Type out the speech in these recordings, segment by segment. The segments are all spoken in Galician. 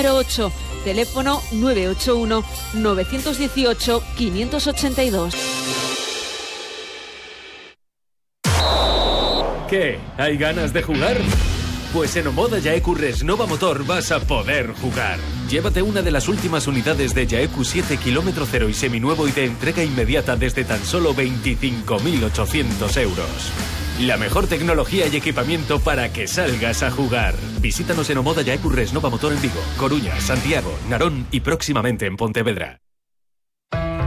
número 8, teléfono 981 918 582. ¿Qué? ¿Hay ganas de jugar? Pues en Omoda Yaeku Resnova Motor vas a poder jugar. Llévate una de las últimas unidades de Yaeku 7 km 0 y seminuevo y de entrega inmediata desde tan solo 25.800 euros. La mejor tecnología y equipamiento para que salgas a jugar. Visítanos en Omoda Yaeku Resnova Motor en Vigo, Coruña, Santiago, Narón y próximamente en Pontevedra.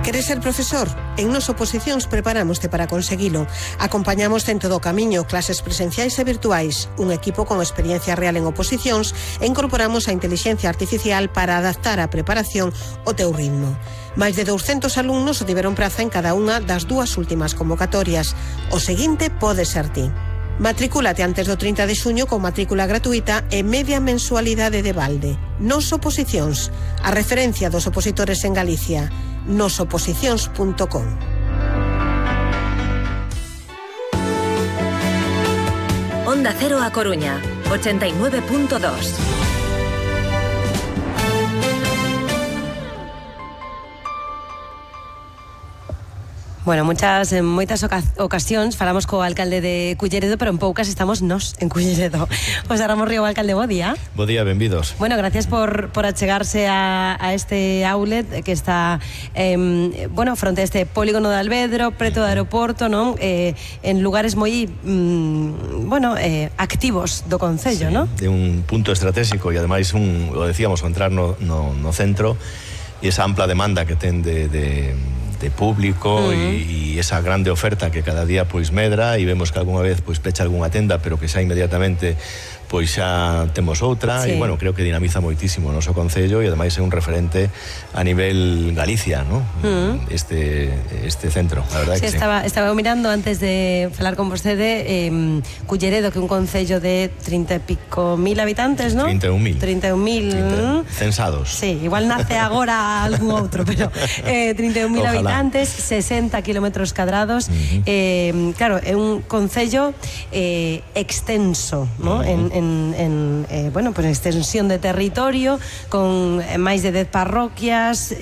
Queres ser profesor? En Nos Oposicións preparámoste para conseguilo. Acompañamos en todo o camiño, clases presenciais e virtuais, un equipo con experiencia real en oposicións e incorporamos a inteligencia artificial para adaptar a preparación ao teu ritmo. Máis de 200 alumnos tiveron praza en cada unha das dúas últimas convocatorias. O seguinte pode ser ti. Matricúlate antes do 30 de xuño con matrícula gratuita e media mensualidade de balde. Nos Oposicións, a referencia dos opositores en Galicia. nosoposicións.com. Onda Cero A Coruña, 89.2. Bueno, en moitas ocasións falamos co alcalde de Culleredo, pero en poucas estamos nos en Culleredo. José Ramón Río, alcalde, bo día. Bo día, benvidos. Bueno, gracias por achegarse a este outlet que está fronte a este polígono de Alvedro, preto do aeroporto, non? En lugares moi activos do concello, non? De un punto estratégico e ademais lo decíamos, entrar no centro e esa ampla demanda que ten de público e esa grande oferta que cada día pois medra e vemos que algunha vez pois pecha algunha tenda, pero que xa inmediatamente pois xa temos outra, e bueno, creo que dinamiza moitísimo o noso concello e ademais é un referente a nivel Galicia, ¿no? Este centro, a verdade que sí. Estaba mirando antes de falar con vostede Culleredo, que é un concello de 30 e pico mil habitantes, ¿no? 31.000 censados. Sí, igual nace agora algún outro, pero 31.000 habitantes, 60 kilómetros cadrados. Claro, é un concello extenso, ¿no? Pues extensión de territorio, con máis de 10 parroquias,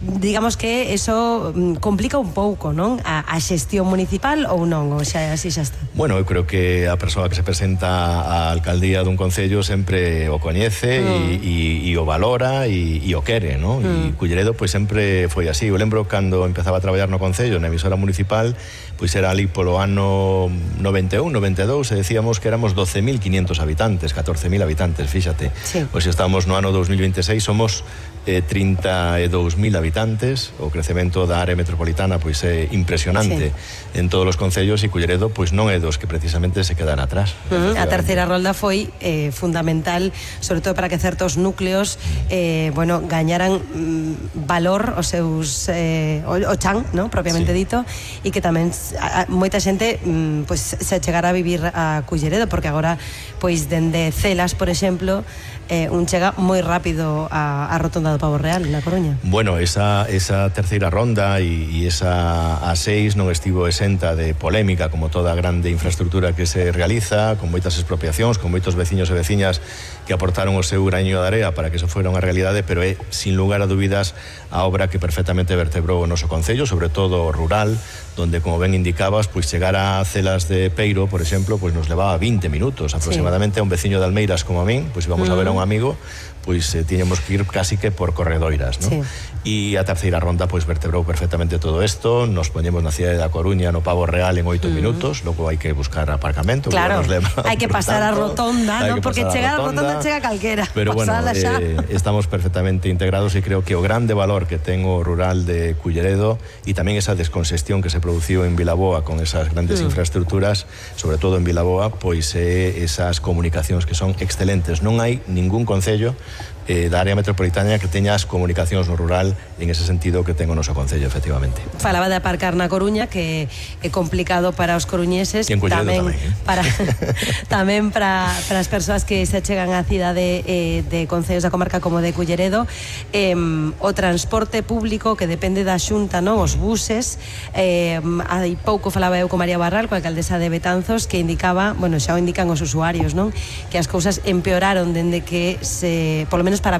digamos que eso complica un pouco, non? A xestión municipal ou non, ou xa así xa está? Bueno, eu creo que a persoa que se presenta á alcaldía dun concello sempre o coñece e o valora e o quere, non? E Culleredo pois sempre foi así. Eu lembro cando empezaba a traballar no concello, na emisora municipal, pois era ali polo ano 91, 92, e decíamos que éramos 12.500 habitantes, 14.000 habitantes, fíxate. Sí. Pois estamos no ano 2026, somos 32.000 habitantes. O crecemento da área metropolitana pois é impresionante en todos os concellos, e Culleredo pois non é dos que precisamente se quedan atrás. A terceira rolda foi fundamental, sobre todo para que certos núcleos gañaran valor os seus o chan, ¿no? Propiamente dito, e que tamén moita xente pois se chegara a vivir a Culleredo, porque agora pois dende Celas, por exemplo, un chega moi rápido a Rotonda do Pavo Real, na Coruña. Bueno, esa terceira ronda e esa A6 non estivo exenta de polémica, como toda grande infraestructura que se realiza, con moitas expropiacións, con moitos veciños e veciñas que aportaron o seu graño de area para que eso fuera unha realidade, pero é, sin lugar a dúbidas, a obra que perfectamente vertebrou o noso concello, sobre todo o rural, donde, como ben indicabas, pois chegar a Celas de Peiro, por exemplo, pois nos levaba 20 minutos aproximadamente. A un veciño de Almeiras como a min, pois íbamos a ver a un amigo, pois tiñamos que ir casi que por corredoiras, ¿no? E a terceira ronda pois vertebrou perfectamente todo isto. Nos poñemos na cidade da Coruña, no Pavo Real, en 8 minutos. Logo hai que buscar aparcamento. Claro, hai que pasar a rotonda, ¿no? Porque chegar a rotonda chega calquera. Pero bueno, estamos perfectamente integrados e creo que o grande valor que ten o rural de Culleredo e tamén esa descongestión que se produciu en Vilaboa con esas grandes infraestructuras, sobre todo en Vilaboa, pois esas comunicacións que son excelentes. Non hai ningún concello da área metropolitana que teña as comunicacións no rural en ese sentido que ten o noso concello, efectivamente. Falaba de aparcar na Coruña, que é complicado para os coruñeses, tamén para as persoas que se achegan á cidade de concellos da comarca como de Culleredo. O transporte público que depende da Xunta, non? Os buses. Hai pouco falaba eu con María Barral, coa alcaldesa de Betanzos, que indicaba, bueno, xa o indican os usuarios, non? Que as cousas empeoraron dende que polo menos para